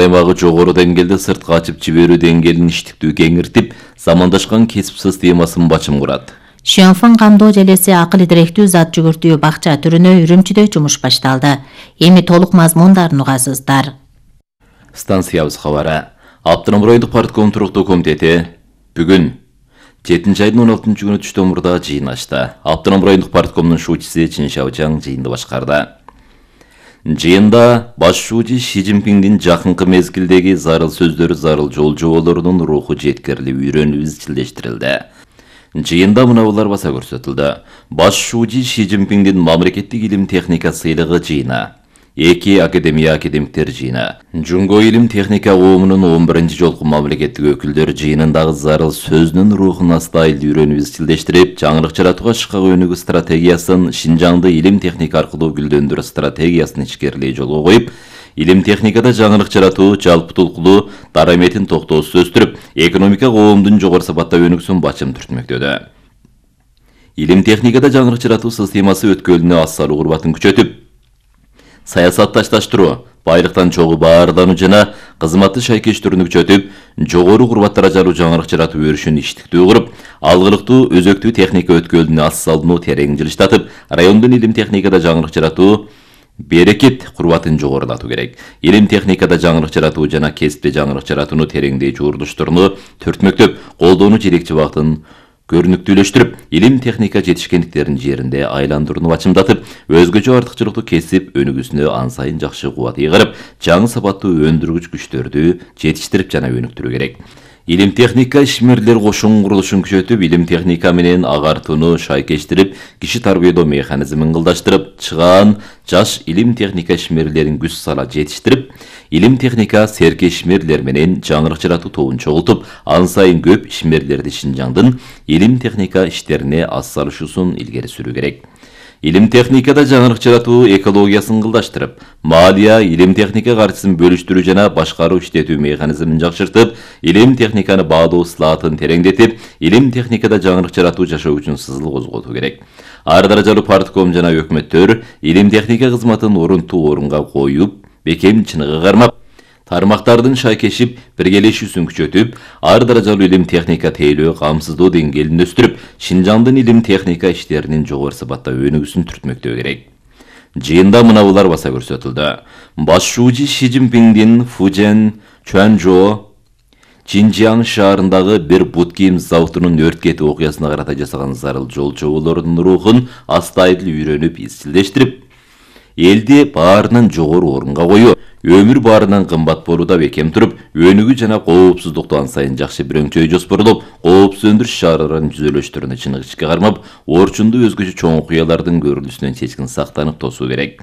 аймагы жогору деңгээлде сыртка ачып жиберүү деңгээлин иштиктүү кеңиртип, замандашкан кесип системасын бачым курат. Шенфэн камдоо желеси акыл идиректүү зат жүгүртүү бакча түрүнө Үрүмчүдө жумуш башталды. Эми толук мазмундарын угасыздар. Станциябыз кабары. Аптырам райондук партком туруктуу комитети бүгүн 7-айдын 16 күнү түштөн мурда жыйын ачты. Аптырам райондук парткомдун шуучусу Чин Шаожаң жыйынды башкарды. Жыйында башчуучу Ши Цзиньпиндин жакынкы мезгилдеги зарыл сөздөрү, зарыл жол жоболорунун руху жеткирилип, үйрөнүп изчилдештирилди. Жыйында мынабулар баса көрсөтүлдү. Башчуучу Ши Цзиньпиндин мамлекеттик илим техника сыйлыгы жыйына, 2 академиктер жыйына, Жунго илим техника коомунун 11-ci жолку мамлекеттик өкүлдөр жыйынындагы зарыл сөздүн рухун астайыл үйрөнүп изчилдештирип, жаңырык жаратууга шыкка өнүгүү стратегиясын, Шинжаңды илим техника аркылуу гүлдөндүрүү стратегиясын ичкерилей жолго коюп, илим техникада жаңырык жаратуу жалпы тулкулуу дараметин токтоосуз өстүрүп, экономика коомдун жогору сапатта өнүгүүсүн бачым түртмөктөдө. Илим техникада жаңырык жаратуу системасы өткөлүнө ассалуу курбатын күчөтүп, саясатташтыруу, байлыктан чогуу баардануу жана кызматты шайкештүүнү күчөтүп, жогору курбат даражалуу жаңырык жаратуу өрүшүн иштиктүү куруп, алгылыктуу өзөктүү техника өткөлүнө ассалууну терең жылыштатып, райондун илим техникада жаңырык жаратуу берекет курбатын жогорулатуу керек. Илим техникада жаңырык жаратуу жана кесипте жаңырык жаратууну тереңдей жуурдуштурууну төртмөктөп, колдоону жетекчи багытын көрүнүктүүлөштүрүп, илим техника жетишкендиктерин жеринде айландырууну бачымдатып, өзгөчө артыкчылыктуу кесип өнүгүүсүнө ан сайын жакшы кубат ыйгарып, жаңы сапаттуу өндүргүч күчтөрдү жетиштирип жана өнүктүрүү керек. Илим техника ишмерлер кошун курулушун күчөтүп, илим техника менен агартууну шайкештирип, киши тарбиялоо механизмин кылдаштырып, чыгаан жаш илим техника ишмерлерин күч сала жетиштирип, илим техника серке ишмерлер менен жаңырык жаратуу тобун чогултуп, ан сайын көп ишмерлерди Шинжаңдын илим техника иштерине атсалышуусун илгери сүрүү керек. Илим техникада жаңырык жаратуу экологиясын кылдаштырып, малия, илим техника каржысын бөлүштүрүү жана башкаруу иштетүү механизмин жакшыртып, илим техниканы баалоо ысылаатын тереңдетип, илим техникада жаңырык жаратуу жашоо үчүн сызыл козготуу керек. Ар даражалуу партком жана өкмөттөр илим техника кызматын орунтуу орунга коюп, бекем чыныгы кармап, тармактардын шайкешип, биргелешүүсүн күчөтүп, ар даражалуу илим техника тейлөө, камсыздоо деңгээлин өстүрүп, Шинжаңдын илим техника иштеринин жогору сапатта өнүгүүсүн түртмөктөө керек. Жыйында мынабулар баса көрсөтүлдү. Башчуучу Ши Цзиньпиндин Фужен, Чуанчжоу, Чинжиang шаарындагы бир бут кийим заводунун өрт кетүү окуясына карата жасаган зарыл жол жоболорунун рухун астайыл үйрөнүп, изчилдештирип, элди баарынан жогору орунга коюу, өмүр баарынан кымбат болууда бекем туруп, өнүгүү жана коопсуздукту ан сайын жакшы бирөңчөй жоспорлоп, коопсуз өндүрүш чараларын жүзөлөштүрүүнү чыныгы ичке кармап, орчунду өзгөчө чоң окуялардын көрүлүүсүнөн чечкин сактанып тосуу керек.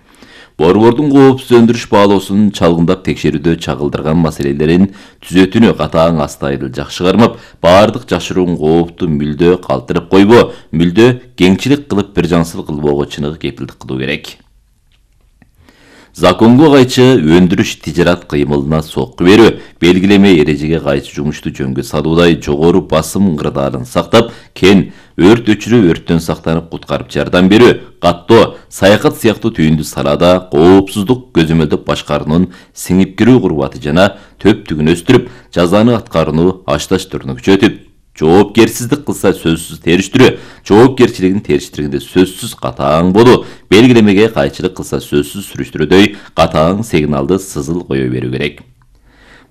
Борбордун коопсуз өндүрүш баалоосун чалгындап текшерүүдө чагылдырган маселелерин түзөтүүнү катаң астайыл жакшы кармап, баардык жашыруун коопту мүлдө калтырып койбоо, мүлдө кеңчилик кылып бир жансыл кылбоого чыныгы кепилдик кылуу керек. Законго кайчы өндүрүш тижарат кыймылына сокку берүү, белгилеме эрежеге кайчы жумушту жөнгө салуудай жогору басым ыңгырдаарын сактап, кен өрт өчүрүү, өрттөн сактанып куткарып жардам берүү, каттоо, саякат сыяктуу түйүндү салаада коопсуздук көзөмөлдөп башкаруунун сиңип кирүү курбаты жана төптүгүн өстүрүп, жазаны аткарууну ашташтырууну күчөтүп, жоопкерсиздик кылса сөзсүз териштирүү, жоопкерчилигин териштиргенде сөзсүз катаң болуу, белгилемеге кайчылык кылса сөзсүз сүрүштүрүүдөй катаң сигналды сызыл кое берүү керек.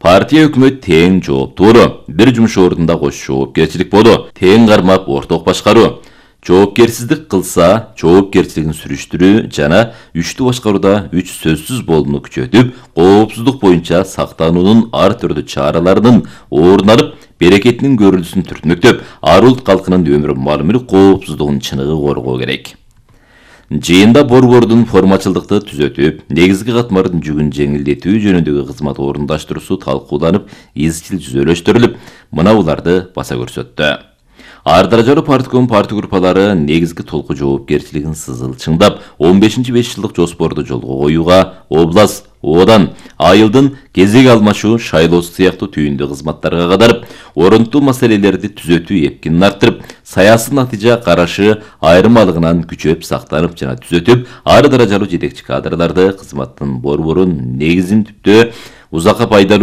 Партия өкмөт тең жооптуу болуу, бир жумуш ордунда кош жоопкерчилик болуу, тең кармап орток башкаруу, жоопкерсиздик кылса жоопкерчилигин сүрүштүрүү жана үчтүү башкарууда үч сөзсүз болууну күчөтүп, коопсуздук боюнча сактануунун ар түрдүү чараларынын орун алып, берекетинин көрүлүүсүн түртмөктөп, ар улут калкынын өмүр мал мүлк коопсуздугун чыныгы коргоо керек. Жыйында борбордун формачылдыкты түзөтүп, негизги катмардын жүгүн жеңилдетүү жөнүндөгү кызмат орундаштыруусу талкууланып, изчил жүзөлөштүрүлүп, мынабуларды баса көрсөттү. Ар даражалуу партком парти группалары негизги толку жоопкерчилигин сызыл чыңдап, 15-5 жылдык жоспорду жолго коюуга област, одан айылдын кезек алмашуу, шайлоосу сыяктуу түйүндүү кызматтарга кадарып, орунтуу маселелерди түзөтүү эпкинин арттырып, саясий натыйжа карашы айырмалыгынан күчөп сактанып жана түзөтүп, ар даражалуу жетекчи кадрларды кызматтын борборун негизин түптөө узакка пайдалуу